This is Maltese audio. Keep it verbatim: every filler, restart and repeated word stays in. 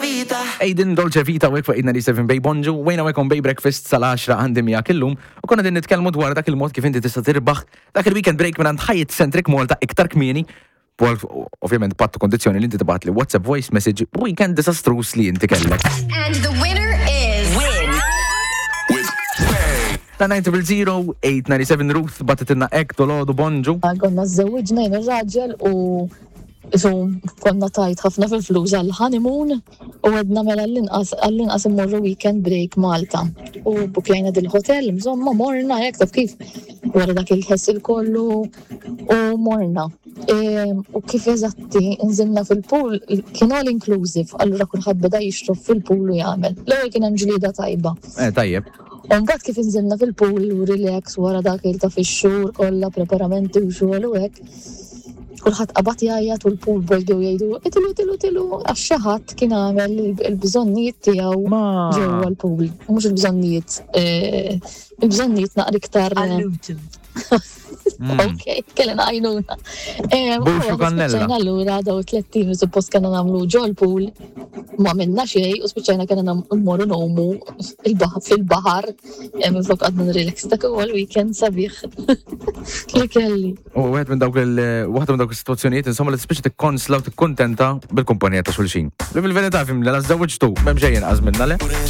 Vita. Aiden, Dolce Vita, u fuq eight ninety-seven Bay. Bonġu, wejna wekom Bay Breakfast sal-għaxra għandi miegħek illum u konna din nitkellmu dwar dak il-mod kif inti tista' tirbaħ dak il-weekend break minn Hyatt Centric Malta iktar kmieni. Pol, ovvjament, pattu kondizzjoni li inti tibgħat li WhatsApp voice message weekend disastrous li inti kellek. And the winner is. Win. With Bay. Ta' nine zero zero eight nine seven Ruth bagħtitilna hekk dolodu. Bonġu. Konna żżewwiġna jien raġel u isu konna tajt ħafna fil-flus għal-honeymoon u għedna mela għall-inqas għall-inqas immorru weekend break Malta. U bukjajna dil-hotel, insomma morna hekk, taf kif, wara dak il-ħessil kollu u morna. E, u kif eżatti nżilna fil-pool, kien all inclusive, allura kulħadd beda jixrob fil-pool u jagħmel. L-ewwel kien hemm ġlieda tajba. Eh, tajjeb. U mbagħad kif inżilna fil-pool u relax wara dak il ta' fix-xhur kollha preparamenti u xogħol u hekk. Kulħadd qabad jgħajjat u l-pool boys bdew jgħidu "Itilgħu, itilgħu, itilgħu", għax xi ħadd kien għamel il-bżonnijiet tiegħu Ma. ġewwa l-pool. Mhux il-bżonnijiet, eh, il-bżonnijiet naqra iktar. Allutu. Ok, kellna għajnuna. Buxu kannella. Spiċċajna allura daw tliet tim suppost kellna nagħmlu ġol pool, ma minna xejn u spiċċajna kellna mmorru ngħumu il-baħar fil-baħar, eh, minflok għadna relax. Dak huwa l-weekend sabiħ li kelli. U wieħed minn dawk il waħda minn dawk is-sitwazzjonijiet insomma li tispiċċa tikkonsla u tikkuntenta bil-kumpanija ta' xulxin. Li fil-verità fim li la żewġtu m'hemm xejn inqas minna, le?